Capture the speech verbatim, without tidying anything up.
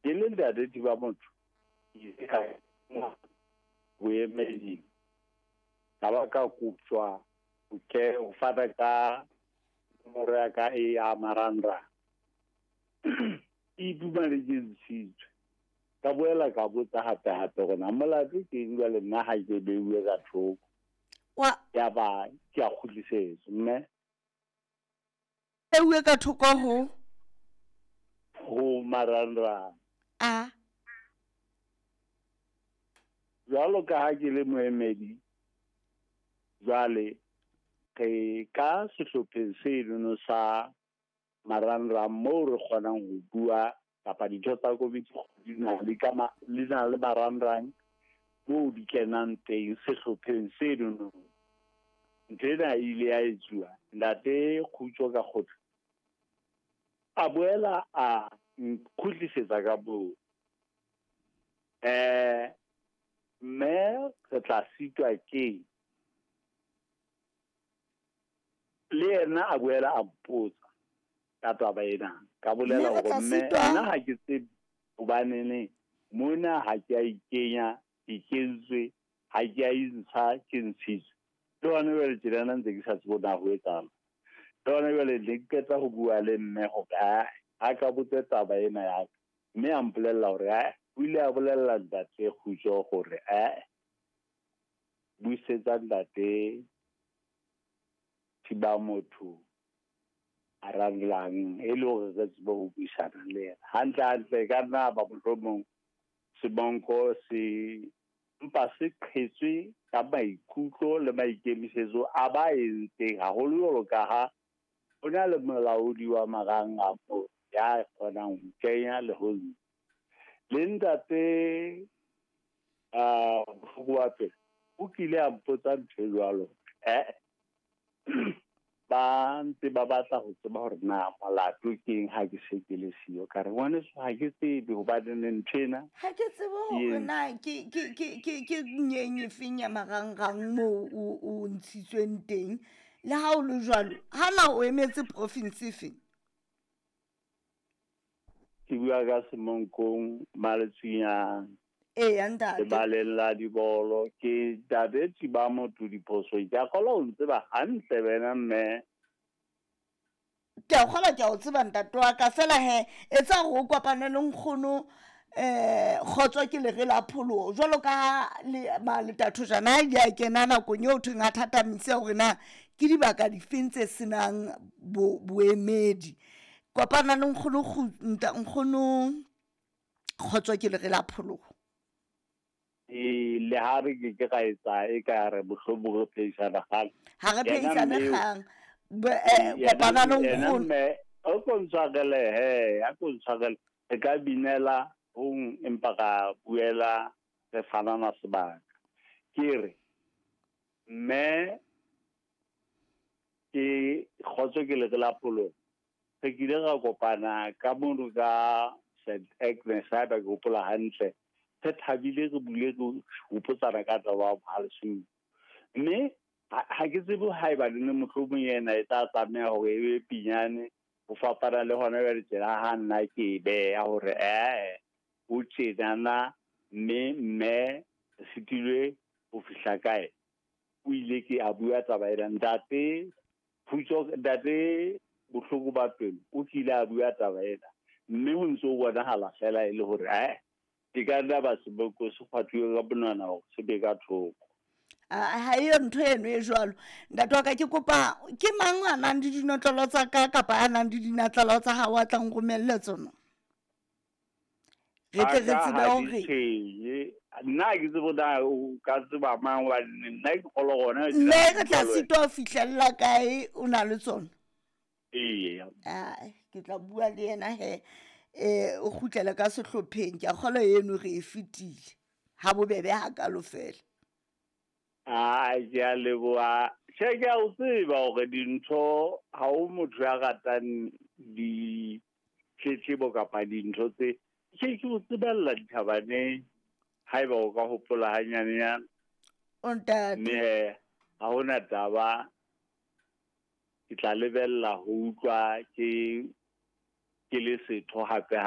Ke le ntate Thiba Motho, ke ile ka boemeding, ka ba ka koptjwa ho ke ho fana ka nomoro ya ka e ya marangrang. Ke iphumane ke ntshitswe. Ka boela ka botsa hape hape hore na molato ke eng jwale nna ha ke beuwe ka thoko. Wa Ya ba ke a kgutlisetswa mme beuwe ka thoko ho ho marangrang. A Jwalo ka ha ke le moemedi, jwale re ka sehlopheng senono sa marangrang moo re kgonang ho bua kapa ditho tsa komiti di na le ka ma, li na le marangrang moo di kenang teng sehlopheng senono. Ntho ena e ile ya etsuwa ntate Kgutso ka kgotla a boela a nkgutlisetsa ka moo. Eh mme re tla sitwa keng? Le yena a boela a mpotsa ka taba ena. Ka bolela Mme re hore tla mme sitwa? nna ha ke tsebe hobanene mona ha ke a ikenya, ke kentswe, ha ke a intsha, ke ntshitswe. Le hona jwale tjenana ntse ke sa tsebe na ho etsahala. Le hona jwale ne ke qeta ho bua le mme hore ae a ka botse taba ena ya ka. Mme a mpolella hore ae o ile a bolella ntate Kgutso hore ae buisetsa ntate Thiba Motho marangrang e le hore re tsebe ho buisana le yena. Hantle hantle e ka nna ba mohlomong semonko se mpa se qhetswe ka maikutlo le maikemisetso a ba entseng haholo jwalo ka ha ho na le molaodi wa marangrang moo ya kgonang ho kenya le ho ntsha. Le ntate ah Bohloko wa pelo o kile a mpotsa ntho e jwalo. Eh ba ntse ba batla ho tseba hore na molato ke eng ha ke se ke le siyo. Ka re ngwaneso ha ke tsebe hobane ntho ena ha ke tsebe hore na ke ke ke ke ke nyeng e feng ya marangrang moo o o ntshitsweng teng. Le ha o le jwalo, ha na o emetse province e feng? Ke bua ka Semonkong, Maletsunyane. Eya ntate. Lebaleng la dibolo ke ntate Thiba Motho diphoso. Ke a kgolwa o ntseba hantle wena mme. Ke a kgolwa ke a o tseba ntate wa ka fela he etsa hore o kopane le nkgono eh Kgotso ke lere la pholoho jwalo ka ha le maletathojana a ile a kena nakong eo thweng a thatamise hore na ke dibaka difeng tse senang bo boemedi. Kopana le nkgono nkgono Kgotso ke lere la pholoho. E le ha re ke ke ra etsa e ka re mohlomong re phehisana kgang. Ha re Yena phehisane mme eo- kgang. Be- eh, Yena kopana le yena nkgono. mme o ko ntshwarele he, a ko ntshwarele. Re ka binela hong empa ra buela re fanana sebaka. Ke re mme ke Kgotso ke lere la pholoho. Re kile ra kopana ka mono ka Saint Agnes haeba ke hopola hantle. Re thabile re bule re hopotsana ka taba ya Mohale'shoek. Mme ha ha ke tsebe haeba le mohlomong yena e tla tlameha hore e be pinyane ho fapana le hona jwale tjena ha nna ke e beha hore eh ho tjenana mme mme re sitilwe ho fihla kae. O ile ke a bua taba ena ntate Kgutso ntate Bohloko ba pelo o kile a bua taba ena mme ho ntso bonahala fela e le hore eh e ka nna ba seboko se kgwathuwe ka monwana hore se be ka thoko. Ha eyo ntho eno e jwalo. Ntate wa ka ke kopa ke mang a nang le dinotlolo tsa ka kapa a nang le dinatlelo tsa hao a tlang romelle tsona? Re tle re Aka tsebe ha di hore tshwenye. Nna ha ke tsebe na o ka tseba mang hobane nna ke kgolwa hona mme re tla sitwa ho fihlella kae o na le tsona? Eya. Ai, ke tla bua le yena he eh o kgutlele ka sehlopheng. Ke a kgolwa eno re e fetile. Ha bobebe hakalo fela. Ai, ke a leboha. Tjhe, ke a o tseba hore dintho ha o motho ya ratang ditletlebo kapa dintho tse. Ke ke o tsebella dithabaneng haeba o ka hopola hanyanenyana. O ntate. Mme he, ha hona taba ke tla lebella ho utlwa ke ke le setho hape hape.